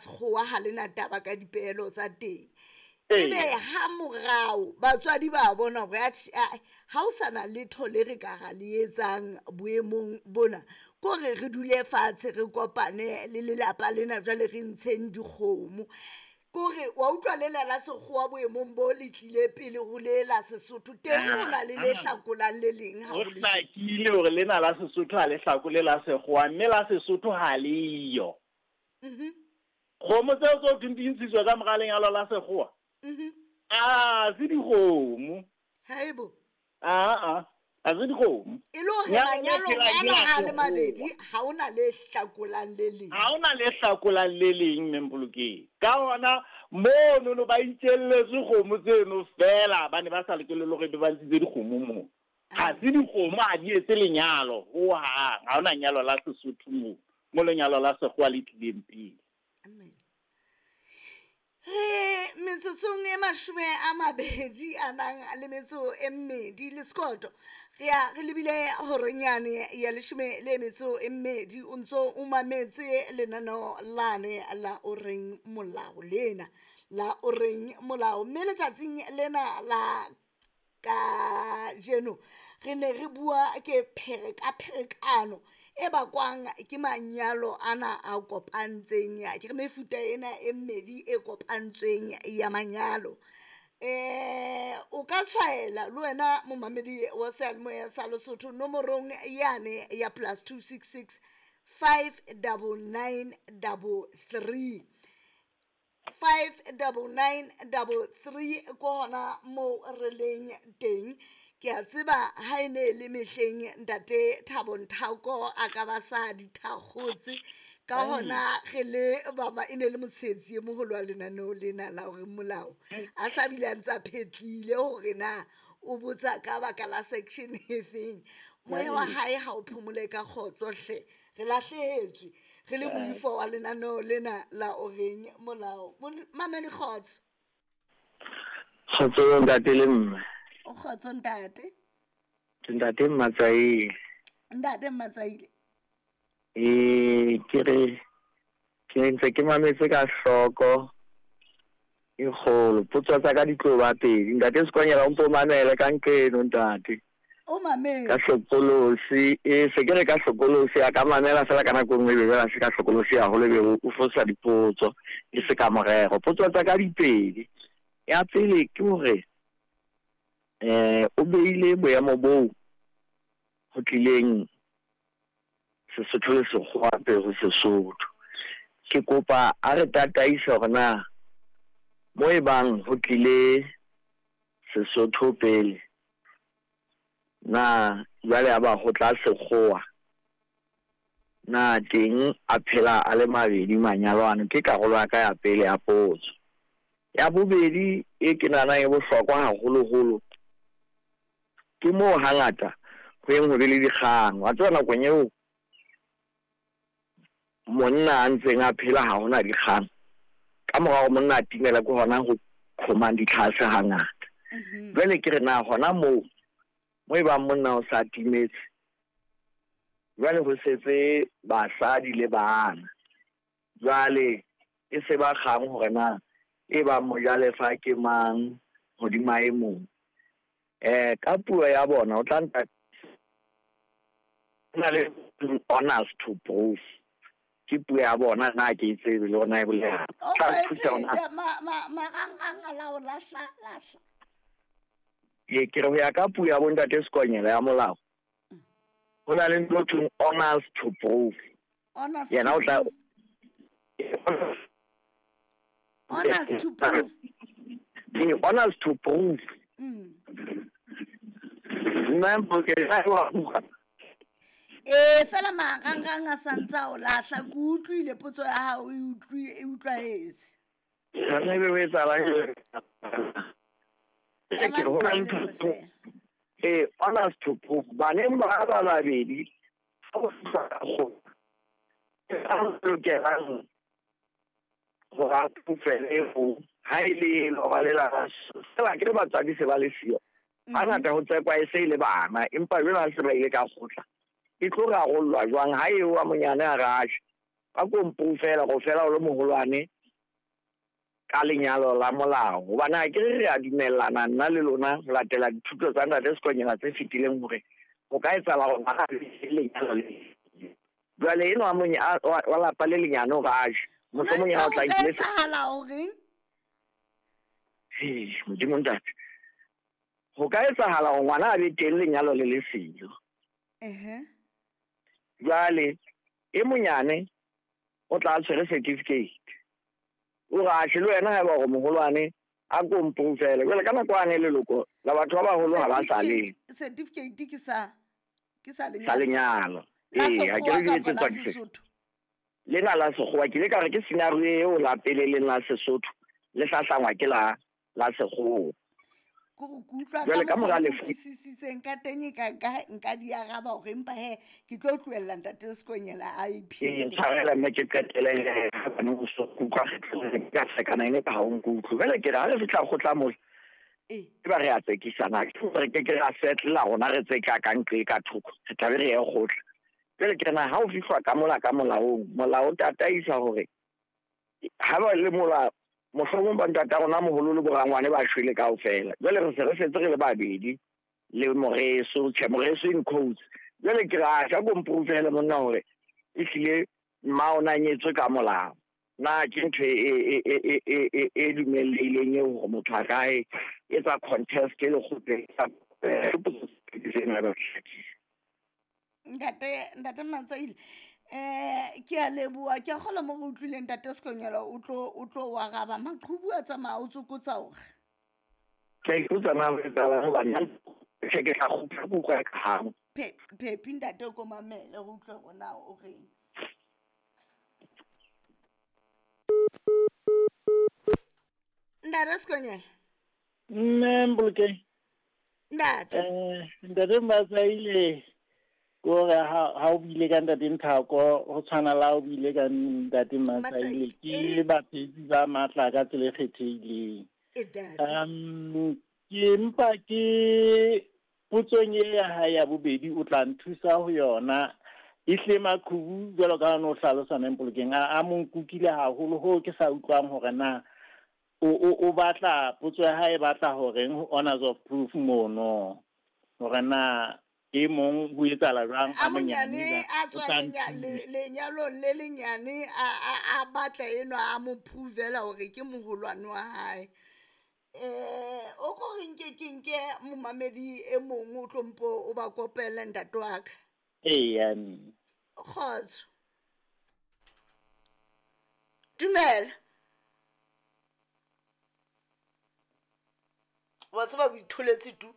Sekgowa ha le na taba ka dipehelo tsa teng. Ebe ha morao batswadi ba bona hore atjhe ha o sa na letho le re ka ra le etsang boemong bona, ko re re dule fatshe re kopane le lelapa lena jwale re ntsheng dikgomo. Kore wa utlwa lela la sekgowa boemong bo le tlile pele ho le la Sesotho teng ho na le le hlakolang le leng ha ho hlakile hore lena la Sesotho ha le hlakole la sekgowa mme la Sesotho ha le yo. Kgomo tseo tse ho thweng di ntshitswe ka mora lenyalo la sekgowa, a se dikgomo. Haebo. Aa, ha se dikgomo. E le hore manyalong ana a le mabedi ha ho na le hlakolang le leng. Ha ho na le hlakolang le leng, Mme Mpolokeng. Ka hona monono ba itjelletswe kgomo tseno feela, ba ne ba sa lokele le hore ebe ba ntshitse dikgomo moo. Ha se dikgomo, ha di etse lenyalo hohang. Ha hona nyalo la Sesotho moo, mo lenyalo la sekgowa le tlileng pele. Amen. Re metsotsong e 20 a nang le metso e mmedi le sekoto. Re ya re lebile horeng yane ya 12 o ntso o mametse lenaneo lane la o reng molao lena la o reng molao mme letsatsing lena la Kajeno re ne re bua ke pherekapherekano e bakwang ke manyalo ana a kopantseng, ke re mefuta ena e mmedi e kopantsweng ya manyalo. O ka tshwaela le wena momamedi wa seyalemoya sa Lesotho nomorong yane ya +266 599 33 59933 ko hona moo re leng teng. Ke a tseba ha e ne le mehleng ntate Thabo Nthako a ka ba sa di thakgotse ka hona re le baba e ne le motshehetsi e moholo wa lenaneo lena la hore molao a sa bile a ntse a phetlile hore na o botsa ka baka la section e feng. Moya wa hae ha o phomole ka kgotso hle. Re lahlehetswe re le moifo wa lenaneo lena la o reng molao. Mamele kgotso. Kgotso ntate le mme. O kgotso ntate. Ke ntate Mmatsaile. Ntate Mmatsaile. Ee, ke re ke ntse ke mametse ka hloko e kgolo. Potso tsa ka di tlo ba pedi. Ntate Sekonyela o mpo mamele ka nqeno ntate. O mametse. Ka hlokolosi, e se ke re ka hlokolosi a ka mamela fela ka nako e nngwe e be jwale a se ka hlokolosi haholo e be o fosa dipotso e se ka morero. Potso tsa ka di pedi. Ya pele ke hore o beile boemo boo ho tlileng Sesotho le Sekgowa pele ho Sesotho. Ke kopa a re tataise hore na mo e bang ho tlile Sesotho pele na jwale ya ba ho tla Sekgowa na teng a phela a le mabedi manyalo ano? Ke karolo ya ka ya pele ya potso. Ya bobedi e ke nahanang e bohlokwa haholoholo ke moo hangata ho yeng ho be le dikgang. Wa tseba nakong eo monna a ntseng a phela ha hona dikgang. Ka mora hore monna a timela ke hona ho qhomang ditlhase hangata. Jwale ke re na hona moo mo e bang monna o sa timetse jwale ho setse basadi le bana. Jwale e se ba kgang hore na e bang mojalefa ke mang hodima e mong. Ka puo ya bona o tla nka na le honors to proof. Ke puo ya bona na ke e tsebe le hore na e bolela. O Tla e nthusa hore na phete marangrang a la o lahla lahla. Ee, ke re ho ya ka puo ya bontate Sekonyela ya molao, ho na le ntho e thweng honors to proof. Honors Yena to o tla proof. Honors to proof. Ee, honors to proof. Nna Mpolokeng wa utlwa. Ee, fela marangrang a sa ntse a o lahla. Ke utlwile potso ya hao e utlwi e utlwahetse. Jwanong ebe ho etsahalang? Ema Ke re ho na le nqale ntho fela. Ee, honors to proof. Baneng ba ba babedi ha o fihla ka kgotla, ke ba lokelang hore a proofele ho ha e le lora le la fela ke le batswadi se ba le siyo. Hangata ho tsekwa e se e le bana, empa jwale ha se ba ile ka kgotla e tlo rarollwa jwang ha eo wa monyane a re atjhe A ko mproofela go fela o le moholwane ka lenyalo la molao. Gobane a ke re re a dumellana nna le lona ho latela dithuto tsa Ntate Sekonyela tse fetileng hore ho ka etsahala hore ngwana a be le lenyalo le Jwale enwa wa lapa le lenyane hore a je, mohlomong yena o tla Ho ka nkile etsahala horeng? Hei, Modimo Ntate. Ho ka etsahala hore ngwana a be teng lenyalo le le siyo. Jwale e monyane o tla a tshwere certificate. O re atjhe le wena haeba hore moholwane a ko mproofele. Jwale ka nako yane leloko la batho ba baholo ha ba sa le. Certificate ke sa ke sa Sa lenyalo. Ee, ha ke re di etsetswa ke Sesotho. Lena la Sekgowa ke ile ka re ke scenario eo la pele leng la Sesotho le hlahlangwa ke la la Sekgowa. Ke go ke utlwa Jwale ka ka mora mokgwa o lefu utlwisisitseng ka teng e ka nka nka di araba hore empa he ke tlo tlohella Ntate Sekonyela a Ee, iphete. ntshwarele mme ke qetele hobane o so kutlwa ka sekana ene ka ha o nkutlwe. Jwale ke re ha re fihla kgotla mola Ee. e ba re a tsekisana, ke hore re ke ke ra settle-la rona re tseka ka nqe ka thoko, re tlabe re ye kgotla. Jwale ke re na ha o fihlwa ka mola ka molaong, molao o tataisa hore ha ba le mola mohlomong ba ntata rona moholo le borangwane ba shwele kaofela. Jwale re se re setse re le babedi le moreso, tjhe moreso in quotes. Jwale ke re a tjha ko mproofele monna hore ehlile mma o na nyetswe ka molao. Na ke ntho e dumellehileng eo hore motho a ka e etsa contest e lekgotleng. Ntate Ntate Matsaile ke a leboha, ke a kgolwa mo re utlwileng Ntate Sekonyela o tlo o tlo o araba. Maqhubu a tsamaya o tsokotsa hore. Ke a ipotsa na ho etsahalang hobane tjhe ke tla kgutla ke utlwa ka hang. Phephi ntate o ko mamele re utlwe hore na o reng. Ntate Sekonyela. Mme Mpolokeng. Ntate. Ntate Matsaile ke hore ha o buile ka Ntate Nthako ho tshwana le ha o buile ka Ntate Matsaile, ke baphetsi ba matla ka tsela e kgethehileng. Ke mpa ke potsong e ya hae ya bobedi o tla nthusa ho yona. Ehlile maqhubu jwalo ka ha o no hlalosa mme Mpolokeng a mo nkukile haholo hoo ke sa utlwang hore na o batla potso ya hae e batla horeng ho honors of proof mono, hore na e mong ho etsahala jwang A a monyane monyane a o tswa tla nthusa. lenyalong le lenyane a batla enwa a mo provela hore ke moholwane wa hae. O ko re nke ke nke momamedi e mong o tlo mpo o ba kopele ntate wa ka. Eya mme. Kgotso. Dumela. Wa tseba o itholetse tu.